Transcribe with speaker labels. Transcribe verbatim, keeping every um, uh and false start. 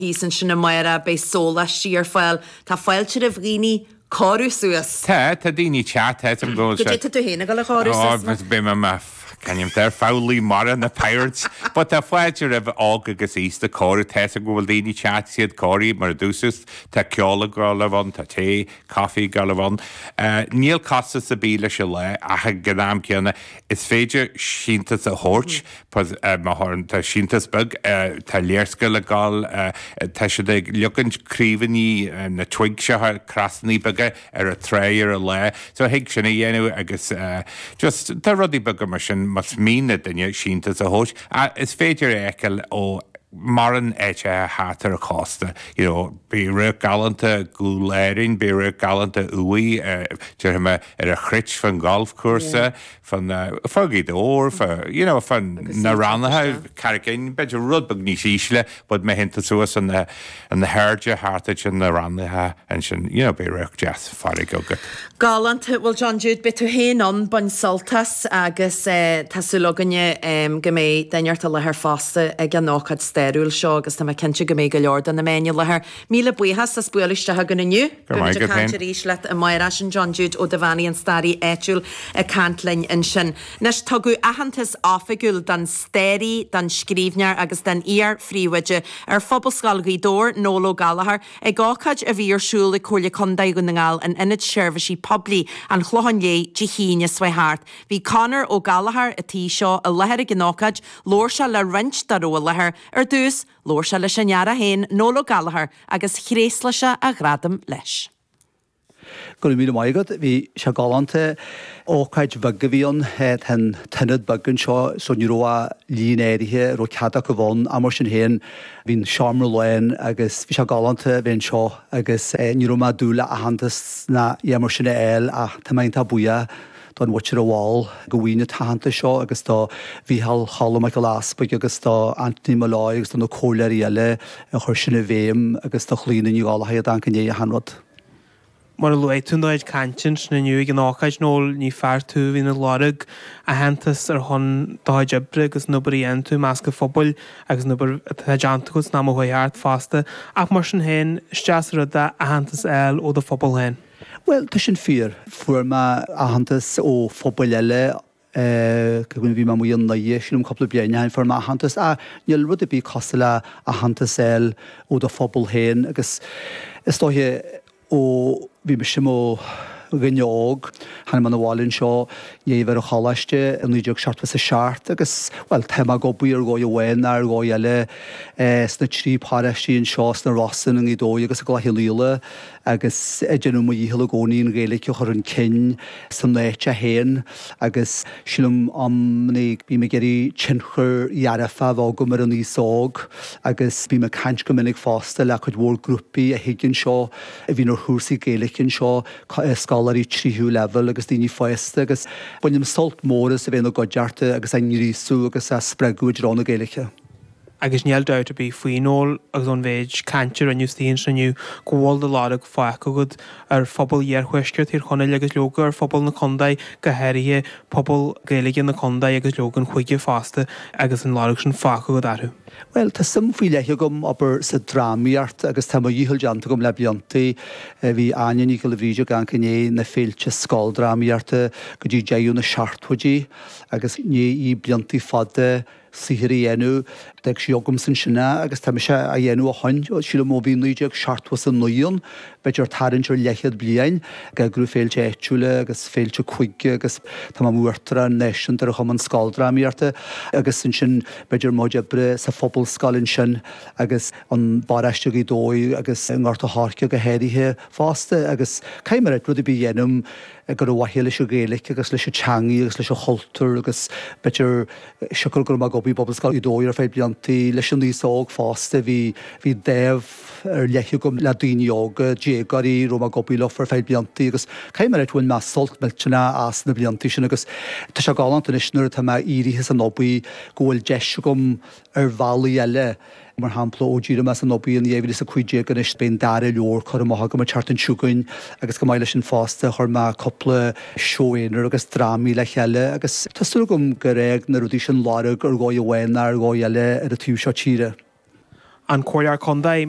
Speaker 1: Thíos ansin amárach, beidh sóláistí ar fáil. Tá fáilte roimh dhaoine cóiriú suas.
Speaker 2: Tá, tá daoine teacht, tá go bhfuil
Speaker 1: Goidé tá tú féin ag dul a chóiriú suas?
Speaker 2: Beidh mé mar ceann ar foghlaí mara na Pirates, but tá fáilte roimh óg agus aosta cóiriú tá go bhfuil daoine teacht siad cóirithe mar a dúirt tá ceol ag dul ann, tá tae, caife ag dul ann. Níl costas ar bith leis an lá ach ag an am céanna is féidir síntiús a thabhairt má tá síntiús beag tá léarscáil ag dul tá siad ag leagaint craobhanna na twig seo crossanna beaga ar an trá ar an lá, so thig sin a dhéanamh agus just tá rudaí beaga mar sin más mian le duine síntiús a thabhairt. Is féidir é a fheiceáil ó mórán áiteacha thart ar an chósta. You know, beidh radharc galánta go Árainn, beidh radharc galánta uaidh déarfaidh mé ar an Chruit fan golf cúrsa, fan fá Ghaoth Dobhair, fa you know, fan na rannacha Carraig Fhinn, b'fhéidir rud beag níos ísle, but má théann tú suas an na an na hairde thart ansin na rannacha ansin, you know, beidh radharc deas farraige agat.
Speaker 1: Galánta, bhuel John Jude, beidh tú féin ann, bain sult as agus tá súil againne go mbeidh duine ort i láthair fosta ag an ócáid stairiúil seo agus tá mé cinnte go mbeidh go leor de na meáin i láthair. Míle buíochas as bualadh isteach againn inniu.
Speaker 2: Go raibh maith
Speaker 1: Beimid ag
Speaker 2: agat
Speaker 1: caint
Speaker 2: féin.
Speaker 1: arís leat amárach sin John Jude Ó Duibheannaigh an staraí áitiúil ag caint linn ansin. Anois tugadh aitheantas oifigiúil don staraí, don scríbhneoir agus don iar-phríomhoide ar Phobalscoil Ghaoth Dobhair, Noel Ó Gallchóir, ag ócáid a bhí ar siúl ag Comhairle Contae Dhún na nGall in Ionad Seirbhísí Poiblí an Chlocháin Léith Dé hAoine seo thart. Bhí Conor Ó Gallchóir an tí seo i láthair ag an ócáid, labhair sé le roinnt dá raibh i láthair ar dtús, labhair sé leis an fhear é féin Noel Ó Gallchóir agus thréaslaigh sé a ghradam leis.
Speaker 3: Go raibh míle maith agat, bhí sé galánta ócáid bheag a bhí ann tá an t-ionad beag anseo so ní raibh ach líon áirithe raibh cead acu ann ach mar sin féin bhí an seomra lán agus bhí sé galánta a bheith anseo agus ní raibh mé ag dúil le aitheantas ná é mar sin a fháil ach tá mé iontach buíoch don mhuintir a mhol go bhfaighinn an t-aitheantas seo agus do Mhícheál Cholm Mac Giolla Easpaig agus do Anthony Molloy agus do na comhairleoirí eile a chuir sin i bhfeidhm agus do Chlíona Ní Ghallchóir a d'amharc i ndiaidh achan rud.
Speaker 4: Mar a luaigh tú id chaint ansin inniu ag an ócáid Noel ní fear tú a bhíonn ag lorg aitheantas ar shon do chuid oibre agus an obair a dhéanann tú i measc an phobail agus an obair atá déanta agat san am a chuaigh thart fosta ach mar sin féin is deas an rud é aitheantas a fháil ó do phobal féin.
Speaker 3: Well tá sin fíor. Fuair mé aitheantas ó phobail eile go bhí mé amuigh i nDoire sílim cúpla bliain ó shin fuair mé aitheantas ach níl rud ar bith cosúil le aitheantas a fháil ó do phobal féin agus is dóiche ó bhí mise i mo dhuine óg tháinig mé 'na bhaile anseo i ndiaidh a bheith ar an choláiste i naoi déag seachtó is a seacht agus bhuel tá mé ag obair ar dhóigh amháin nó ar dhóigh eile sna trí paróistí anseo sna Rosann i nGaoth Dobhair agus i gCloich Cheann Fhaola agus ag déanamh mo dhícheall i gcónaí an Ghaeilge a chur chun cinn san áit féin agus sílim amannaí bím ag iarraidh tionchar dearfach a bheith agam ar an aos óg agus bím ag caint go minic fosta le cuid mhór grúpaí a thig anseo a bhíonn ar chúrsaí Gaeilge anseo scoláirí tríú leibhéal agus daoine fásta agus bainim sult mór as a bheith ina gcuideachta agus á ngríosú agus á spreagadh i dtreo na Gaeilge.
Speaker 4: Agus níl dabht ar bith faoi Noel agus ón mhéid cainte a rinneadh istigh ansin inniu go bhfuil do lorg fágtha agat ar phobal iarthuaisceart Thír Chonaill agus leoga ar phobal na contae go háirithe pobal Gaeilge na contae agus leoga an chúige fosta agus an lorg sin fágtha agat orthu.
Speaker 3: Bhuel tá suim faoi leith agam obair sa drámaíocht agus tá mo dhícheall déanta agam le blianta. Bhí Áine Ní Ghiolla Bhríde ag amharc i ndiaidh na féilte scoildrámaíochta go dtí deireadh na seachtóidí agus i ndiaidh blianta fada saothair a dhéanamh. D'fhág sí agamsa ansin é agus tá mise á dhéanamh ó shin, sílim ó bhí naoi déag seachtó is a naoi ann, b'fhéidir tarraingt ar leathchéad bliain, ag eagrú féilte áitiúla agus féilte cúige agus tá mé i m'uachtarán náisiúnta ar an Chumann Scoildrámaíochta agus ansin b'fhéidir mo chuid oibre sa Phobalscoil ansin agus i bparóiste Ghaoth Dobhair agus i nGort a' Choirce go háirithe fosta agus caithfidh mé a rá rud ar bith a dhéanaim gur ar mhaithe leis an Ghaeilge agus leis an teangaidh agus leis an chultúr agus b'fhéidir siocair go raibh mé ag obair i bPobalscoil Ghaoth Dobhair ar feadh blianta leis an aos óg fosta bhí bhí dáimh ar leith agam le daoine óga, déagóirí raibh mé ag obair leo ar feadh blianta agus caithfidh mé a rá bhain mé sult millteanach as na blianta sin agus tá sé galánta anois nuair atá mé éirithe as an obair go bhfuil deis agam ar bhealaí eile. Mar shampla, ó d'éirigh mé as an obair in dhá mhíle is a cúig déag anois beidh an dara leabhar curtha amach agam an tseachtain seo chugainn agus chomh maith leis sin fosta chuir mé cúpla seó aonair agus drámaí le chéile agus tá súil agam gur fhág na rudaí sin lorg ar dhóigh amháin nó ar dhóigh eile ar an taobh seo tíre.
Speaker 4: An Comhairleoir Contae